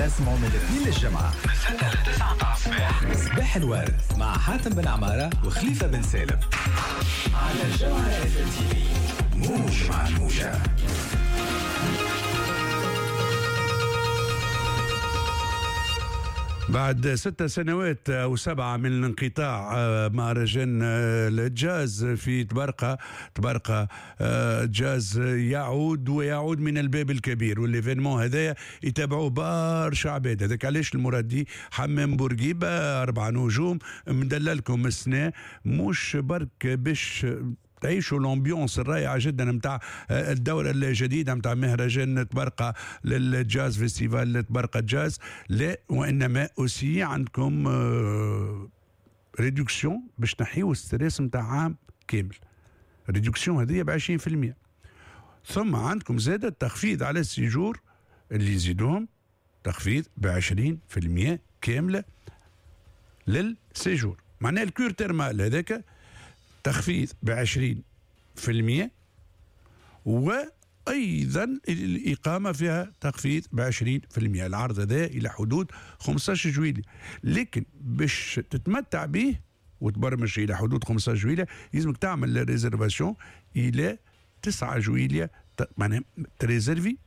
تسمعوا من الاثنين للجمعة من 6 ل 9 متاع الصباح. صباح الورد مع حاتم بن عمارة وخليفة بن سالم على جوهرة اف ام تي في، موج مع الموجة. بعد 6 سنوات أو 7 من الانقطاع، مهرجان الجاز في طبرقة، طبرقة جاز، يعود ويعود من الباب الكبير. وال événement هذايا يتابعوه برشا عباد. هذاك علاش المرادي حمام بورقيبة 4 نجوم مدللكم السنة، مش برك باش تعيشوا l'ambiance الرائعة جدا نتاع الدورة الجديدة نتاع مهرجان طبرقه للجاز، festival طبرقه جاز، لا وانما aussi عندكم réduction باش تنحيو stress نتاع عام كامل. réduction هذه ب 20%. ثم عندكم زاد التخفيض على ال séjour اللي يزيدوهم تخفيض ب 20% كاملة لل séjour. معناها ال cure thermale هذاك تخفيض ب 20%، وايضا الاقامة فيها تخفيض ب 20%. العرض هذا الى حدود 15 جويلية، لكن باش تتمتع به وتبرمج الى حدود 15 جويلية لازمك تعمل réservation الى 9 جويلية، معناها تريزرفي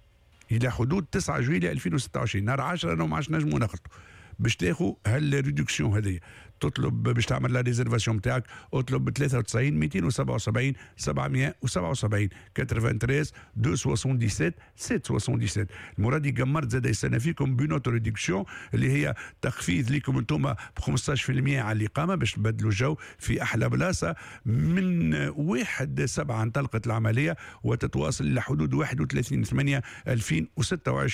الى حدود 9 جويلية 2026. نهار 10 انا ما عادش نجموا نخلطوا باش تاخذ هال réduction هذه. تطلب باش تعمل la réservation نتاعك، اطلب ب 93 277 777، 93 277 777. المرادي قمرت زاد يستنى فيكم ب une autre réduction اللي هي تخفيض لكم انتم ب 15% على الاقامة باش تبدلوا الجو في احلى بلاصه. من 1/7 انطلقت العملية وتتواصل الى حدود 31/8 2026.